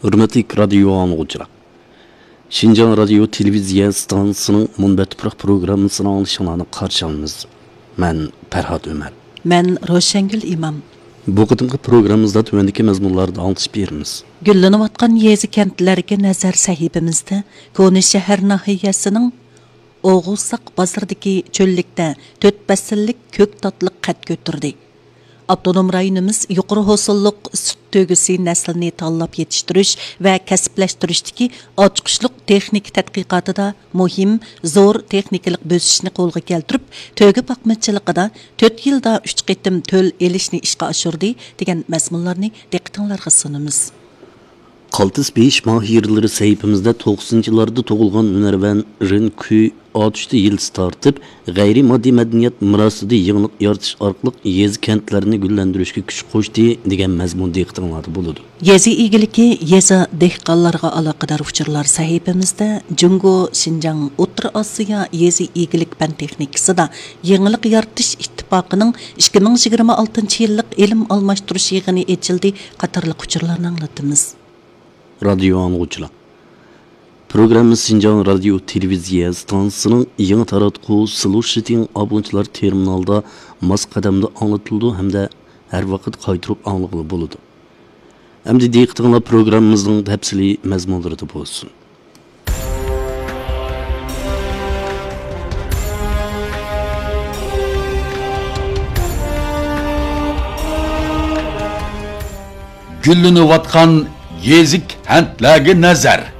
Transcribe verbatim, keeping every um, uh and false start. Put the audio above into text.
ھۆرمەتلىك رادىيو ئاڭلىغۇچىلار! شىنجاڭ رادىيو تېلېۋىزىيە ئىستانسىسىنىڭ مۇنبەت تۇپراق پروگراممىسىنى ئاڭلىشىڭلارنى قارشى ئالىمىز. مەن پەرھات ئۆمەر. مەن روشەنگۈل ئىمام. بۇ قېتىمقى پروگراممىمىزدا تۆۋەندىكى مەزمۇنلاردا ئاڭلىتىش بېرىمىز. گۈللىنىۋاتقان يېزا كەنتلەرگە نەزەر سەھىپىمىزدە كونا شەھەر ناھىيەسىنىڭ ئوغۇزساق بازىرىدىكى چۆللۈكتە تۆت پەسىللىك كۆك تاتلىق قەد كۆتۈردى. ئاپتونوم رايونىمىز يۇقىرى ھوسۇللۇق سۈت تۆگىسى نەسلىنى تاللاپ يېتىشتۈرۈش ۋە كەسىپلەشتۈرۈشتىكى ئاچقۇچلۇق تېخنىكا تەتقىقاتىدا مۇھىم، زور تېخنىكىلىق بۆسۈشنى قولغا كەلتۈرۈپ، تۆگە باقمىچىلىقىدا تۆت يىلدا ئۈچ قېتىم تۆل ئېلىشنى ئىشقا ئاشۇردى، دېگەن مەزمۇنلارنى دىققىتىڭلارغا سۇنىمىز. قالتىس بېيىش ماھىرلىرى سەھىپىمىزدە توقسىنىنچى يىللاردا تۇغۇلغان ھۈنەرۋەن رېن كۈي ئاتۇشتا يىلتىز تارتىپ، غەيرىي ماددىي مەدەنىيەت مىراسىدا يېڭىلىق يارىتىش ئارقىلىق يېزا كەنتلەرنى گۈللەندۈرۈشكە كۈچ قوشتى، دېگەن مەزمۇن دىققىتىڭلاردا بولىدۇ. يېزا ئىگىلىكى، يېزا دېھقانلارغا ئالاقىدار ئۇچۇرلار سەھىپىمىزدە جۇڭگو شىنجاڭ ئوتتۇرا ئاسىيا يېزا ئىگىلىك پەن تېخنىكىسىدا يېڭىلىق يارىتىش ئىتتىپاقىنىڭ ئىككى مىڭ يىگىرمە ئالتىنچى يىللىق ئىلىم ئالماشتۇرۇش يىغىنى ئېچىلدى قاتارلىق ئۇچۇرلارنى ئاڭلىتىمىز. رادىيو ئاڭلىغۇچىلار! پروگراممىمىز شىنجاڭ رادىيو تېلېۋىزىيە ئىستانسىسىنىڭ يېڭى تاراتقۇ سلۇشىتىڭ ئابۇنىچىلار تېرمىنالىدا ماس قەدەمدە ئاڭلىتىلىدۇ ھەمدە ھەر ۋاقىت قايتۇرۇپ ئاڭلىغىلى بولىدۇ. ئەمدى دىققىتىڭلار پروگراممىمىزنىڭ تەپسىلىي مەزمۇنلىرىدا بولسۇن. گۈللىنىۋاتقان يېزا كەنتلەرگە نەزەر.